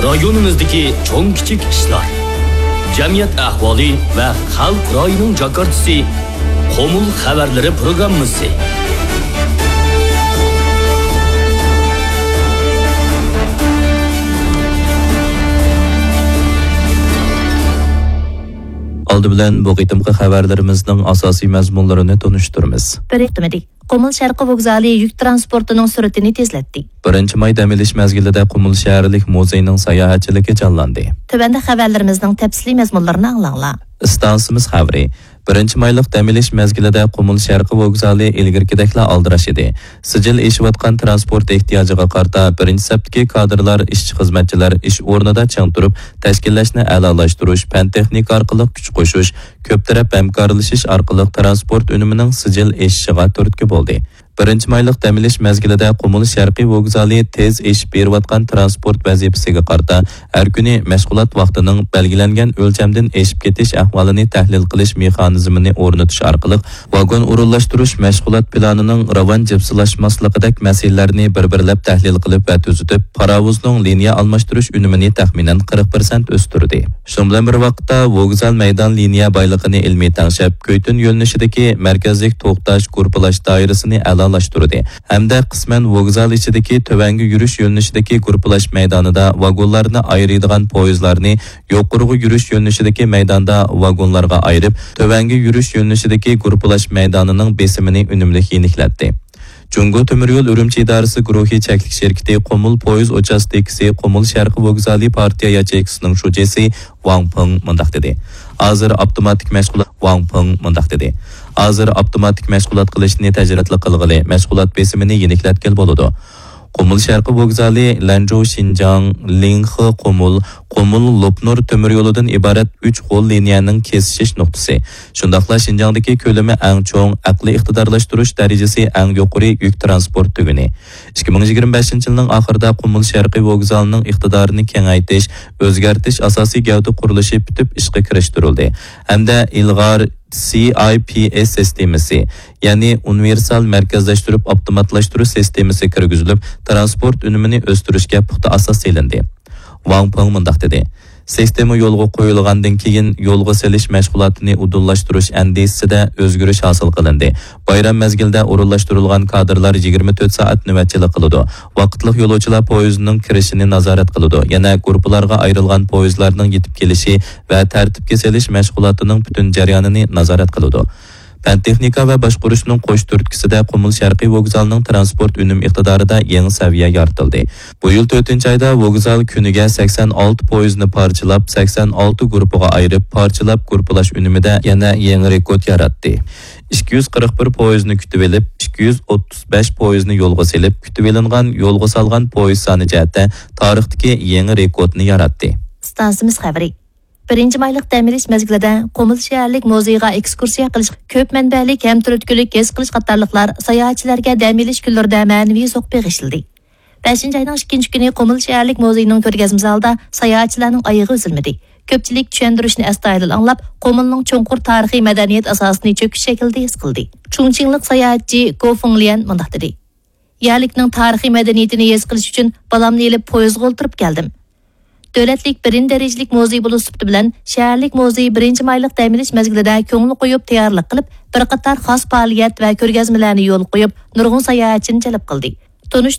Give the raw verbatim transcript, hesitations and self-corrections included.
رايونىمىزدىكى چوڭ-كىچىك ئىشلار، جەمئىيەت ئەھۋالى ۋە خەلق رايىنىڭ جاكارتىسى، قۇمۇل خەۋەرلىرى پروگراممىسى. ئالدى بىلەن بۇ قېتىمقى خەۋەرلىرىمىزنىڭ ئاساسىي مەزمۇنلىرىنى تونۇشتۇرىمىز. بىر توختىمىدى. قۇمۇل شەرقىي ۋوگزالى يۈك تىرانسپورتىنىڭ سۈرئىتىنى تېزلەتتى. بىرىنچى ماي دەم ئېلىش مەزگىلىدە قۇمۇل شەھەرلىك مۇزېينىڭ ساياھەتچىلىكى جانلاندى. تۆۋەندە خەۋەرلىرىمىزنىڭ تەپسىلىي مەزمۇنلىرىنى ئاڭلاڭلار. ئىستانسىمىز خەۋىرى. بىرىنچى مايلىق دەم ئېلىش مەزگىلىدە قۇمۇل شەرقىي ۋوگزالى ئىلگىرىكىدەكلا ئالدىراش ئىدى. سىجىل ئېشىۋاتقان تىرانسپورت ئېھتىياجىغا قارىتا، بىرىنچى سەپتىكى كادىرلار، ئىشچى-خىزمەتچىلەر ئىش ئورنىدا چىڭ تۇرۇپ، تەشكىللەشنى ئەلالاشتۇرۇش، پەن-تېخنىكا ئارقىلىق كۈچ قوشۇش، كۆپ تەرەپ ھەمكارلىشىش ئارقىلىق تىرانسپورت ئۈنۈمىنىڭ سىجىل ئېشىشىغا تۈرتكە بولدى. بىرىنچى مايلىق دەم ئېلىش مەزگىلىدە قۇمۇل شەرقىي ۋوگزالى تېز ئېشىپ بېرىۋاتقان تىرانسپورت ۋەزىپىسىگە قارىتا ھەر كۈنى مەشغۇلات ۋاقتىنىڭ بەلگىلەنگەن ئۆلچەمدىن ئېشىپ كېتىش ئەھۋالىنى تەھلىل قىلىش مېخانىزمىنى ئورنىتىش ئارقىلىق، ۋاگون ئورۇنلاشتۇرۇش مەشغۇلات پىلانىنىڭ راۋان جىپسىلاشماسلىقىدەك مەسىلىلەرنى بىر-بىرلەپ تەھلىل قىلىپ ۋە تۈزىتىپ، پاراۋۇزنىڭ لىنىيە ئالماشتۇرۇش ئۈنۈمىنى تەخمىنەن قىرىق پىرسەنت ئۆستۈردى. شۇنىڭ بىلەن بىر ۋاقىتتا، ۋوگزال مەيدان لىنىيە بايلىقىنى ئىلمىي تەڭشەپ، كۈيتۈن يۆنىلىشىدىكى مەركەزلىك توختاش، گۇرۇپپىلاش دائىرىسىنى ئەلالاشتۇردى ھەمدە قىسمەن ۋوگزال ئىچىدىكى تۆۋەنگە يۈرۈش يۆنىلىشىدىكى گۇرۇپپىلاش مەيدانىدا ۋاگونلارنى ئايرىيدىغان پويىزلارنى يۇقىرىغا يۈرۈش يۆنىلىشىدىكى مەيداندا ۋاگونلارغا ئايرىپ، تۆۋەنگە يۈرۈش يۆنىلىشىدىكى گۇرۇپپىلاش مەيدانىنىڭ بېسىمىنى ئۈنۈملۈك يېنىكلەتتى. جۇڭگو تۆمۈر يول ئۈرۈمچى ئىدارىسى گۇرۇھى چەكلىك شىركىتى قۇمۇل پويىز ئۇچاستكىسى، قۇمۇل شەرقىي ۋوگزالى پارتىيە ياچېيكىسىنىڭ شۇجىسى ۋاڭ پېڭ مۇنداق دېدى: ھازىر ئاپتوماتىك مەشغۇلات، ۋاڭ پېڭ مۇنداق دېدى: ھازىر ئاپتوماتىك مەشغۇلات قىلىشنى تەجرىتلىك قىلغىلى، مەشغۇلات بېسىمىنى يېنىكلەتكىلى بولىدۇ. قۇمۇل شەرقىي ۋوگزالى لەنجۇ شىنجاڭ، لىڭخې قۇمۇل، قۇمۇل لوپنۇر تۆمۈر يولىدىن ئىبارەت ئۈچ غول لىنىيەنىڭ كېسىشىش نۇقتىسى. شۇنداقلا شىنجاڭدىكى كۆلىمى ئەڭ چوڭ، ئەقلىي ئىقتىدارلاشتۇرۇش دەرىجىسى ئەڭ يۇقىرى يۈك تىرانسپورت تۈگۈنى. ئىككى مىڭ يىگىرمە بەشىنچى يىلنىڭ ئاخىرىدا قۇمۇل شەرقىي ۋوگزالىنىڭ ئىقتىدارىنى كېڭەيتىش، ئۆزگەرتىش ئاساسىي گەۋدە قۇرۇلۇشى پۈتۈپ ئىشقا كىرىشتۈرۈلدى ھەمدە ئىلغار سى ئاي پى ئېس سىستېمىسى، يەنى ئۇنىۋېرسال مەركەزلەشتۈرۈپ ئاپتوماتلاشتۇرۇش سىستېمىسى كىرگۈزۈلۈپ، تىرانسپورت ئۈنۈمىنى ئۆستۈرۈشكە پۇختا ئاساس سېلىندى. ۋاڭ پېڭ مۇنداق دېدى: سىستېما يولغا قويۇلغاندىن كېيىن، يولغا سېلىش مەشغۇلاتىنى ئۇدۇللاشتۇرۇش ئەندىزىسىدە ئۆزگىرىش ھاسىل قىلىندى. بايرام مەزگىلىدە ئورۇنلاشتۇرۇلغان كادىرلار يىگىرمە تۆت سائەت نۆۋەتچىلىك قىلىدۇ. ۋاقىتلىق يولۇچىلار پويىزىنىڭ كىرىشىنى نازارەت قىلىدۇ. يەنە گۇرۇپپىلارغا ئايرىلغان پويىزلارنىڭ يېتىپ كېلىشى ۋە تەرتىپكە سېلىش مەشغۇلاتىنىڭ پۈتۈن جەريانىنى نازارەت قىلىدۇ. پەن-تېخنىكا ۋە باشقۇرۇشنىڭ قوش تۈرتكىسىدە قۇمۇل شەرقىي ۋوگزالىنىڭ تىرانسپورت ئۈنۈم ئىقتىدارىدا يېڭى سەۋىيە يارىتىلدى. بۇ يىل تۆتىنچى ئايدا ۋوگزال كۈنىگە سەكسەن ئالتە پويىزنى پارچىلاپ، سەكسەن ئالتە گۇرۇپپىغا ئايرىپ، پارچىلاپ گۇرۇپپىلاش ئۈنۈمىدە يەنە يېڭى رېكورت ياراتتى. ئىككى يۈز قىرىق بىر پويىزنى كۈتۈۋېلىپ، ئىككى يۈز ئوتتۇز بەش پويىزنى يولغا سېلىپ، كۈتۈۋېلىنغان يولغا سالغان پويىز سانى جەھەتتە تارىختىكى يېڭى رېكورتنى ياراتتى. ئىستانسىمىز خەۋىرى. بىرىنچى مايلىق دەم ئېلىش مەزگىلىدە قۇمۇل شەھەرلىك مۇزېيغا ئېكسكۇرسىيە قىلىش، كۆپ مەنبەلىك ھەم تۈرتكىلىك ھېس قىلىش قاتارلىقلار ساياھەتچىلەرگە دەم ئېلىش كۈنلىرىدە مەنىۋى زوق بېغىشلىدى. بەشىنچى ئاينىڭ ئىككىنچى كۈنى قۇمۇل شەھەرلىك مۇزېينىڭ كۆرگەزمە زالىدا ساياھەتچىلەرنىڭ ئايىغى ئۈزۈلمىدى. كۆپچىلىك چۈشەندۈرۈشنى ئەستايىدىل ئاڭلاپ، قۇمۇلنىڭ چوڭقۇر تارىخىي مەدەنىيەت ئاساسىنى چۆكۈش شەكلىدە ھېس قىلدى. چۇڭچىڭلىق ساياھەتچى گو فېڭليەن مۇنداق دېدى: يەرلىكنىڭ تارىخىي مەدەنىيىتىنى ھېس قىلىش ئۈچۈن بالامنى ئېلىپ پويىزغا ئولتۇرۇپ كەلدىم. دۆلەتلىك بىرىنچى دەرىجىلىك مۇزېي بولۇش سۈپىتى بىلەن، شەھەرلىك مۇزېي بىرىنچى مايلىق دەم ئېلىش مەزگىلىدە كۆڭۈل قويۇپ تەييارلىق قىلىپ، بىر قاتار خاس پائالىيەت ۋە كۆرگەزمىلەرنى يولغا قويۇپ، نۇرغۇن ساياھەتچىنى جەلپ قىلدى. تونۇش